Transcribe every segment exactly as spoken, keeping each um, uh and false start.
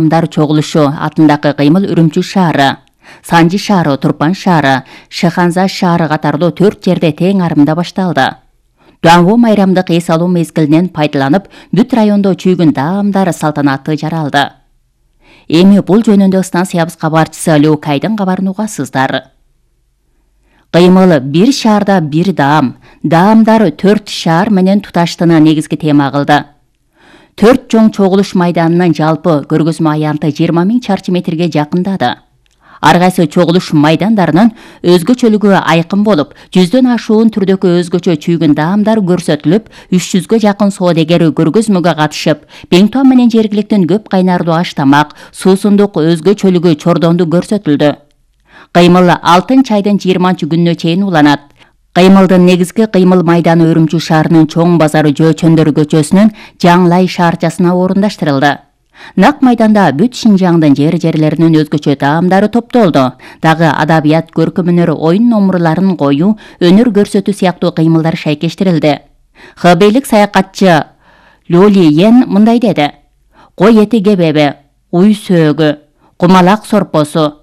Адамдар чогулушу атындагы кыймыл Үрүмчү шаары, Санжы шаары, Турпан шаары, Шыханза шаары катарлуу төрт жерде тең арымда башталды. Дуанго майрамдык эс алуу мезгилинен пайдаланып, бүт райондо чүйгүн даамдар салтанаты жаралды. Эми бул жөнүндө станциябыз кабарчысы Леукайдын кабарын угасыздар. Кыймыл бир шаарда бир даам, даамдар төрт шаар менен туташтыны негизги тема кылды. Төрт чоң чогулуш майданынын жалпы көргөзмө аянты жыйырма миң чарчы метрге жакындады. Ар кайсы чогулуш майдандарынын өзгөчөлүгү айкын болуп, жүздөн ашуун түрдөгү өзгөчө чүйгүн даамдар көрсөтүлүп, үч жүзгө жакын соодагер көргөзмөгө катышып, Беңтуан менен жергиликтин көп кайнарлуу аш тамак, суусундук өзгөчөлүгү чордонду көрсөтүлдү. Кыймыл алтын чайдын жыйырманчы күнүнө чейин уланат. Кыймылдын негизги кыймыл майданы Үрүмчү шаарынын чоң базары Жөөчөндөр көчөсүнүн Жаңлай шаарчасына орундаштырылды. Нак майданда бүт Шинжаңдын жер-жерлеринин өзгөчө таамдары топтолду. Дагы адабият, көркөм өнөр, оюн номурларын коюу, өнөр көрсөтүү сыяктуу кыймылдар шайкештирилди. Хбейлик саякатчы Лоли Йен мындай деди: Кой эти кебеби, уй сөөгү, кумалак сорпосу.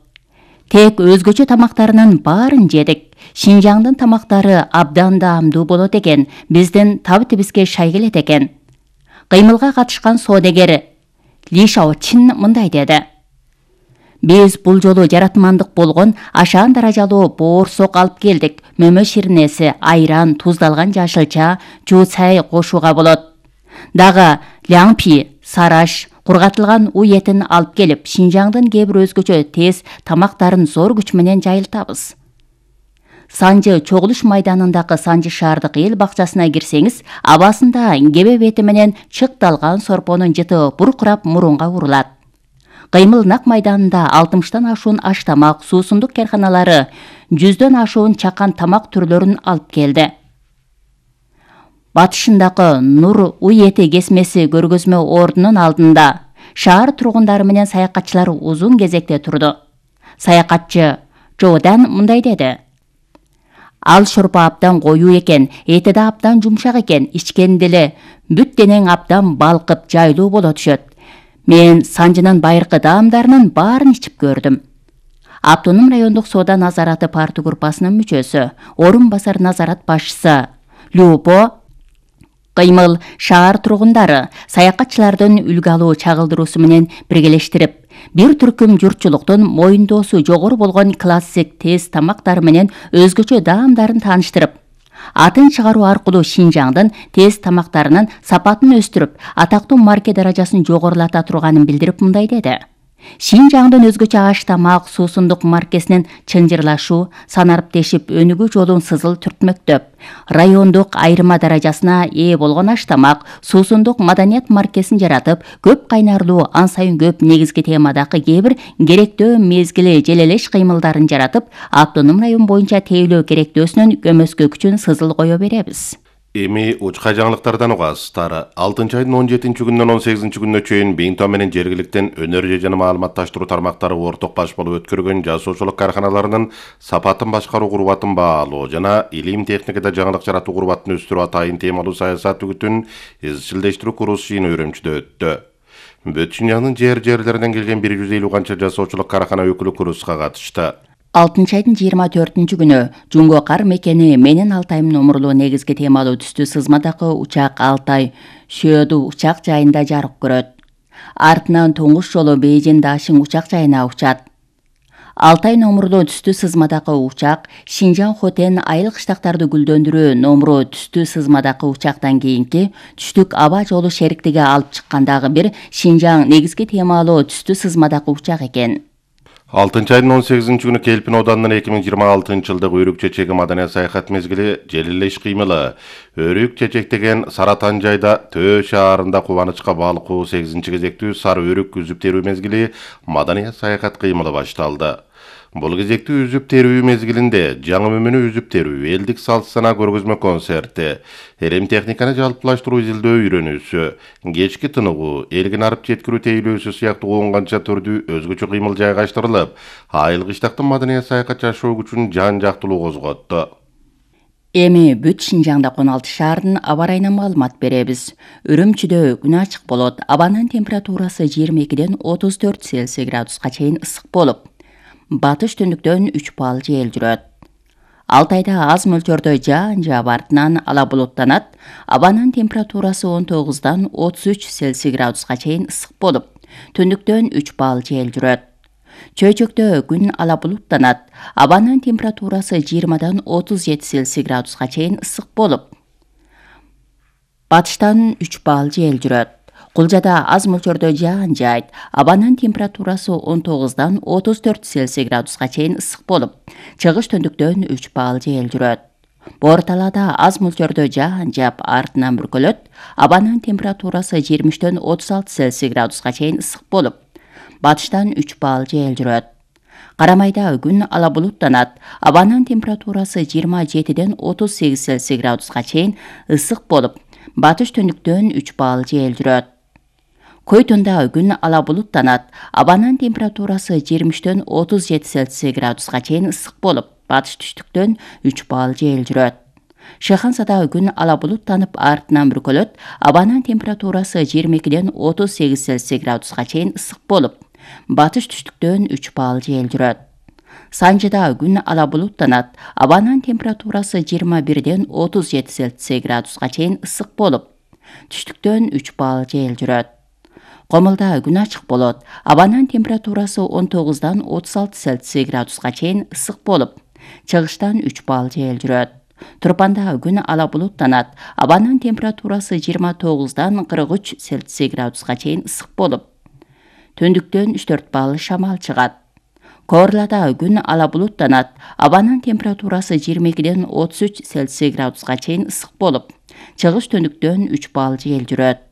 Тек өзгөчө тамактарынын баарын жедик. Шинжаңдын тамактары абдан даамдуу болот экен, биздин табытыбызга шай келет экен. Кыймылга катышкан соодагер Ли Шаочин мындай деди: Биз бул жолу жаратмандык болгон ашаан даражалуу боорсок алып келдик. Мөмө ширнеси, айран, туздалган жашылча, жуусай кошууга болот. Дагы ляңпи, сараш, кургатылган уй этин алып келип, Шинжаңдын кээ бир өзгөчө тез тамактарын зор күч менен жайылтабыз. Санжы чогулуш майданындагы Санжы шаардык эл бакчасына кирсеңиз, абасында кебе бети менен чыкталган сорпонун жыты буркурап мурунга урулат. Кыймыл нак майданында алтымыштан ашуун аш тамак, суусундук карканалары, жүздөн ашуун чакан тамак түрлөрүн алып келди. Батышындагы Нур уй эти кесмеси көргөзмө ордунун алдында шаар тургундары менен саякатчылар узун кезекте турду. Саякатчы Жодан мындай деди: Ал шорпо абдан коюу экен, эти да абдан жумшак экен, ичкенде эле бүт денең абдан балкып, жайлуу боло түшөт. Мен Санжынын байыркы даамдарынын баарын ичип көрдүм. Автоном райондук соода назараты партия группасынын мүчөсү, орун басар назарат башчысы Любо Кыймыл шаар тургундары саякатчылардын үлгү алуу чагылдыруусу менен биргелештирип, бир түркүм журтчулуктун моюндоосу жогору болгон классик тез тамактары менен өзгөчө даамдарын тааныштырып, атын чыгаруу аркылуу Шинжаңдын тез тамактарынын сапатын өстүрүп, атактуу марке даражасын жогорулата турганын билдирип мындай деди: Шинжаңдын өзгөчө аш тамак, суусундук маркесинин чынжырлашуу, санариптешип өнүгүү жолун сызыл түртмөктөп, райондук айырма даражасына ээ болгон аш тамак, суусундук маданият маркесин жаратып, көп кайнарлуу, ан сайын көп негизги темадагы кээ бир керектөө мезгили желелеш кыймылдарын жаратып, автоном район боюнча тейлөө керектөөсүнүн көмөскө күчүн сызыл кое беребиз. Эми учка жаңылыктардан угасыздар. алтынчы айдын он жетинчи күнүнөн он сегизинчи күнүнө чейин Беңтуан менен жергиликтин өнөр жана маалыматташтыруу тармактары орток баш болуп өткөргөн жасоочулук карканаларынын сапатын башкаруу курбатын баалоо жана илим техникада жаңылык жаратуу курбатын өстүрүү атайын темалуу саясат үгүтүн изчилдештирүү курс жыйыны Үрүмчүдө өттү. Бүт Шинжаңдын жер-жерлеринен келген бир жүз элүү канча жасоочулук каркана өкүлү курска катышты. алтынчы айдын жыйырма төртүнчү күнү Жунго кар мекени Менин Алтайым номурлуу негизги темалуу түстүү сызмадагы учак Алтай Шөөдү учак жайында жарык көрөт. Артынан туңуш жолу Бейжин Дашин учак жайына учат. Алтай номурлуу түстүү сызмадагы учак Шинжаң Хотен айыл кыштактарды гүлдөндүрүү номуру түстүү сызмадагы учактан кийинки түштүк аба жолу шериктиге алып чыккандагы бир Шинжаң негизги темалуу түстүү сызмадагы учак экен. алтынчы айдын он сегизинчи күнү Келпин оданынын эки миң жыйырма алтынчы жылдык Өрүк чечеги маданият саякат мезгили желелеш кыймылы. Өрүк чечек деген Саратан жайда Төө шаарында кубанычка балкуу сегизинчи кезектүү сары өрүк үзүп терүү мезгили маданият саякат кыймылы башталды. Бул кезектүү үзүп терүү мезгилинде жаңы мөмөнү үзүп терүү, элдик салт сана көргөзмө концерти, элем техниканы жалпылаштыруу изилдөө үйрөнүүсү, кечки тыныгуу, элгин арып жеткирүү тейлөөсү сыяктуу он канча түрдүү өзгөчө кыймыл жайгаштырылып, айыл кыштактын маданият саякат жашоо күчүн жан жактылуу козготту. Эми бүт Шинжаңда он алты шаардын аба ырайынан маалымат беребиз. Үрүмчүдө күн ачык болот. Абанын температурасы жыйырма экиден отуз төрт Цельсий градуска чейин ысык болуп, батыш түндүктөн үч балл жел жүрөт. Алтайда аз мөлчөрдө жаан жаап артынан ала булуттанат. Абанын температурасы он тогуздан отуз үч Цельсий градуска чейин ысык болуп, түндүктөн үч балл жел жүрөт. Чөйчөктө күн ала булуттанат. Абанын температурасы жыйырмадан отуз жети Цельсий градуска чейин ысык болуп, батыштан үч балл жел жүрөт. Кулжада аз мөлчөрдө жаан жаайт. Абанын температурасы он тогуздан отуз төрт Цельсий градуска чейин ысык болуп, чыгыш түндүктөн үч балл жел жүрөт. Боор талаада аз мөлчөрдө жаан жаап артынан бүркөлөт. Абанын температурасы жыйырма үчтөн отуз алты Цельсий градуска чейин ысык болуп, батыштан үч балл жел жүрөт. Карамайда күн ала булуттанат. Абанын температурасы жыйырма жетиден отуз сегиз Цельсий градуска чейин ысык болуп, батыш түндүктөн үч балл жел жүрөт. Койтунда күн ала булуттанат. Абанын температурасы жыйырма үчтөн отуз жети Цельсий градуска чейин ысык болуп, батыш түштүктөн үч балл жел жүрөт. Шехансада күн ала булуттанып артынан бүркөлөт. Абанын температурасы жыйырма экиден отуз сегиз Цельсий градуска чейин ысык болуп, батыш түштүктөн үч балл жел жүрөт. Санжыда күн ала булуттанат. Абанын температурасы жыйырма бирден отуз жети Цельсий градуска чейин ысык болуп, түштүктөн үч балл жел жүрөт. Комулда күн ачык болот. Абанын температурасы он тогуздан отуз алты Цельсий градуска чейин ысык болуп, чыгыштан үч балл жел жүрөт. Турпанда күн ала булуттанат. Абанын температурасы жыйырма тогуздан кырк үч Цельсий градуска чейин ысык болуп, түндүктөн үч төрт балл шамал чыгат. Коорлада күн ала булуттанат. Абанын температурасы жыйырма экиден отуз үч Цельсий градуска чейин ысык болуп, чыгыш түндүктөн үч балл жел жүрөт.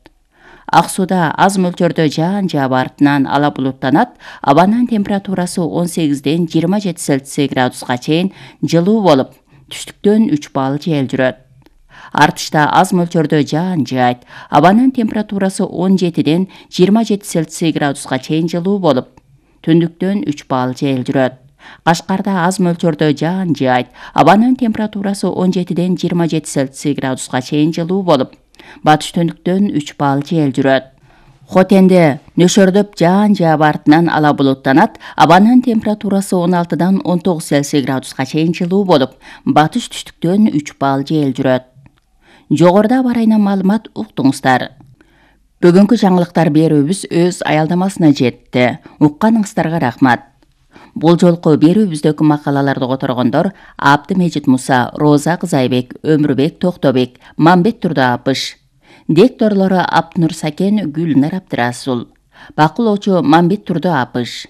Ак сууда аз мөлчөрдө жаан жаап артынан ала булуттанат. Абанын температурасы он сегизден жыйырма жети Цельсий градуска чейин жылуу болуп, түштүктөн үч балл жел жүрөт. Артышта аз мөлчөрдө жаан жаайт. Абанын температурасы он жетиден жыйырма жети Цельсий градуска чейин жылуу болуп, түндүктөн үч балл жел жүрөт. Кашкарда аз мөлчөрдө жаан жаайт. Абанын температурасы он жетиден жыйырма жети Цельсий градуска чейин жылуу болуп, батыш түндүктөн үч балл жел жүрөт. Хотенде нөшөрдөп жаан жаап артынан ала булуттанат. Абанын температурасы он алтыдан он тогуз Цельсий градуска чейин жылуу болуп, батыш түштүктөн үч балл жел жүрөт. Жогоруда аба ырайынан маалымат уктуңуздар. Бүгүнкү жаңылыктар берүүбүз өз аялдамасына жетти. Укканыңыздарга рахмат. Бул жолку берүүбүздөгү макалаларды которгондор Абдымежит Муса, Роза Кызайбек, Өмүрбек Токтобек, Мамбет Турдаапыш. Дикторлору Абднур Сакен, Гүлнар Абдырасул. Бакылоочу Мамбет Турдаапыш.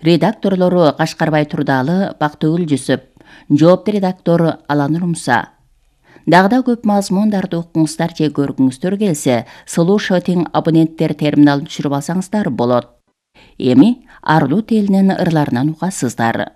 Редакторлору Кашкарбай Турдалы, Бактыгүл Жүсүп. Жоопту редактор Аланур Муса. Дагы да көп мазмундарды укуңуздар же көргүңүздөр келсе, слушатың абоненттер терминалын түшүрүп алсаңыздар болот. Эми Арлут элинин ырларынан угасыздар.